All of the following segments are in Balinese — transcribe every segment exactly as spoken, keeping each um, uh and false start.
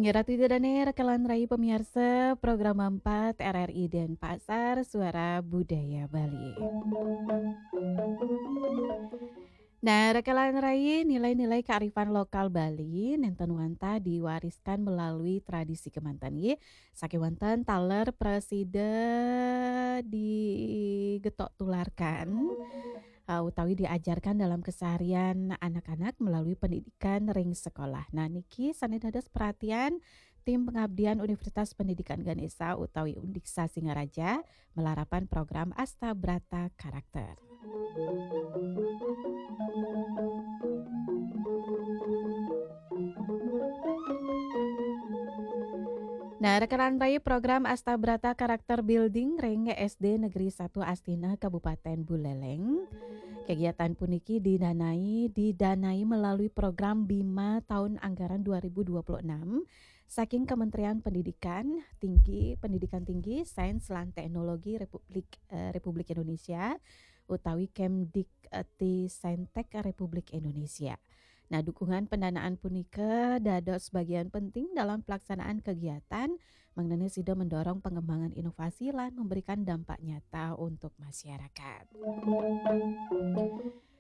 Nggih, Ratu Ida Dane, rekan lan rai pamiarsa program empat R R I Denpasar, Suara Budaya Bali. Nah, rekan lan rai, nilai-nilai kearifan lokal Bali nenten wantah diwariskan melalui tradisi kemanten, nggih. Saking wonten taler prasida digetok tularkan, uh, utawi diajarkan dalam keseharian anak-anak melalui pendidikan ring sekolah. Nah, niki sane dados perhatian tim pengabdian Universitas Pendidikan Ganesha utawi Undiksa Singaraja malarapan program Asta Brata Karakter. Nah, rekan rai, program Asta Brata Karakter Building ring S D Negeri satu Astina, Kabupaten Buleleng. Kegiatan puniki didanai, didanai melalui program Bima tahun anggaran dua ribu dua puluh enam saking Kementerian Pendidikan Tinggi, Pendidikan Tinggi, Sains lan Teknologi Republik, eh, Republik Indonesia utawi Kemdiktisentristek Republik Indonesia. Nah, dukungan pendanaan punika dados bagian penting dalam pelaksanaan kegiatan, mangdane sida mendorong pengembangan inovasi lan memberikan dampak nyata untuk masyarakat.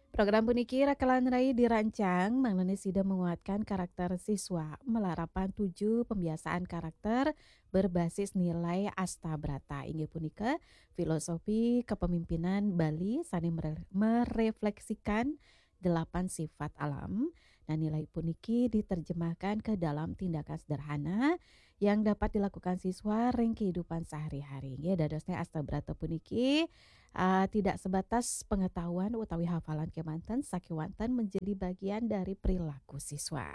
Program puniki rekan lan rai dirancang mangdane sida menguatkan karakter siswa malarapan tujuh pembiasaan karakter berbasis nilai Asta Brata, inggih punika filosofi kepemimpinan Bali sane mere-, merefleksikan delapan sifat alam. Nah, nilai puniki diterjemahkan ke dalam tindakan sederhana yang dapat dilakukan siswa ring kehidupan sehari-hari. Nggih, dadosne Asta Brata puniki, ah, tidak sebatas pengetahuan utawi hafalan kemanten, sakewanten menjadi bagian dari perilaku siswa.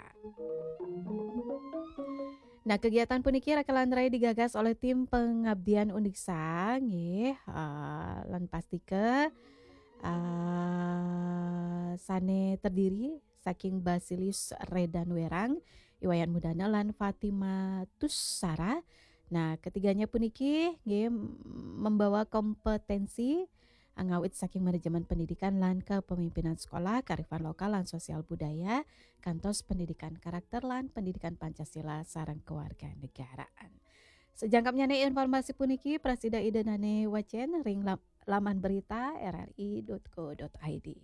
Nah, kegiatan puniki rekan lan rai digagas oleh tim pengabdian Undiksa, nggih, ah, lan pastika, ah, sane terdiri saking Basilius Redan Werang, Iwayan Mudana, lan Fatima Tussara. Nah, ketiganya puniki nggih membawa kompetensi, ah, ngawit saking manajemen pendidikan lan kepemimpinan sekolah, kearifan lokal lan sosial budaya, kantos pendidikan karakter lan pendidikan Pancasila sareng kewarganegaraan. Sejangkepnyane informasi puniki prasida Ida Dane wacen ring lam-, laman berita R R I dot co dot I D.